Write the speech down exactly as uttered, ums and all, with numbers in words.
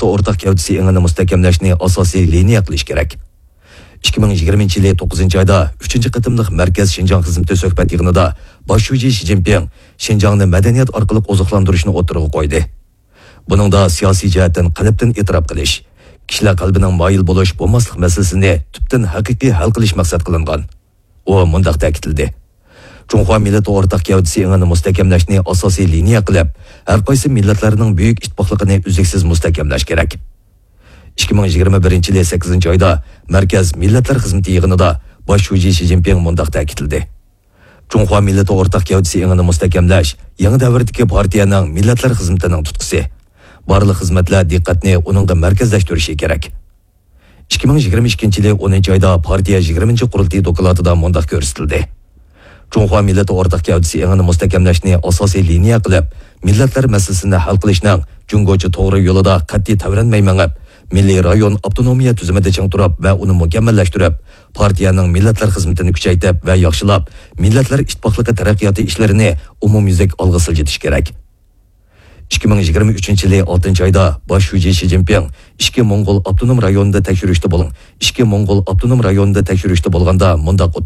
ئورتاق گەۋدىسى ئېڭىنى مۇستەھكەملەشنى ئاساسىي لىنىيە قىلىش كېرەك. ئىككى مىڭ يىگىرمىنچى يىلى توققۇزىنچى ئايدا ئۈچىنچى قېتىملىق مەركەز شىنجاڭ خىزمىتى سۆھبەت يىغىنىدا باش شۇجى شى جىنپىڭ شىنجاڭنى مەدەنىيەت ئارقىلىق ئوزۇقلاندۇرۇشنى ئوتتۇرىغا قويدى. بۇنىڭدا سىياسىي جەھەتتىن قەلبتىن ئېتىراپ قىلىش، كىشىلەر قەلبىنىڭ مايىل بولۇش، بولماسلىق مەسىلىسىنى تۈپتىن ھەقىقىي ھەل قىلىش مەقسەت قىلىنغان. ئۇ مۇنداق تەكىتلىدى: جۇڭخۇا مىللىتى ئورتاق گەۋدىسى ئېڭىنى مۇستەھكەملەشنى ئاساسىي لىنىيە قىلىپ، ھەر قايسى مىللەتلەرنىڭ بۈيۈك ئىتتىپاقلىقىنى ئۈزلۈكسىز مۇستەھكەملەش كېرەك. ئىككى مىڭ يىگىرمە بىرىنچى يىلى سەككىزىنچى ئايدا مەركەز مىللەتلەر خىزمىتى يىغىنىدا باش شۇجى شى جىنپىڭ مۇنداق تەكىتلىدى: جۇڭخۇا مىللىتى ئورتاق گەۋدىسى ئېڭىنى مۇستەھكەملەش يېڭى دەۋردىكى پارتىيەنىڭ مىللەتلەر خىزمىتىنىڭ تۇتقىسى. بارلىق خىزمەتلەر دىققەتنى ئۇنىڭغا مەركەزلەشتۈرۈشى كېرەك. ئىككى مىڭ يىگىرمە ئىككىنچى يىلى ئونىنچى ئايدا پارتىيە يىگىرمىنچى قۇرۇلتىيى دوكلاتىدا مۇنداق كۆرسىتىلدى: جۇڭخۇا مىللىتى ئورتاق گەۋدىسى ئېڭىنى مۇستەھكەملەشنى ئاساسىي لىنىيە قىلىپ، مىللەتلەر مەسىلىسىنى ھەل قىلىشنىڭ جۇڭگوچە توغرا يولىدا قەتئىي تەۋرەنمەي مېڭىپ، مىللىي رايون ئاپتونومىيە تۈزۈمىدە چىڭ تۇرۇپ ۋە ئۇنى مۇكەممەللەشتۈرۈپ، پارتىيەنىڭ مىللەتلەر خىزمىتىنى كۈچەيتىپ ۋە ياخشىلاپ، مىللەتلەر ئىتتىپاقلىقى تەرەققىياتى ئىشلىرىنى ئومۇميۈزلۈك ئالغا سىلجىتىش كېرەك. ئىككى مىڭ يىگىرمە ئۈچىنچى يىلى ئالتىنچى ئايدا باش شۇجى شى جىنپىڭ ئىچكى موڭغۇل ئاپتونوم رايونىدا تەكشۈرۈشتە بولغان، ئىچكى موڭغۇل ئاپتونوم رايونىدا تەكشۈرۈشتە بولغاندا مۇنداق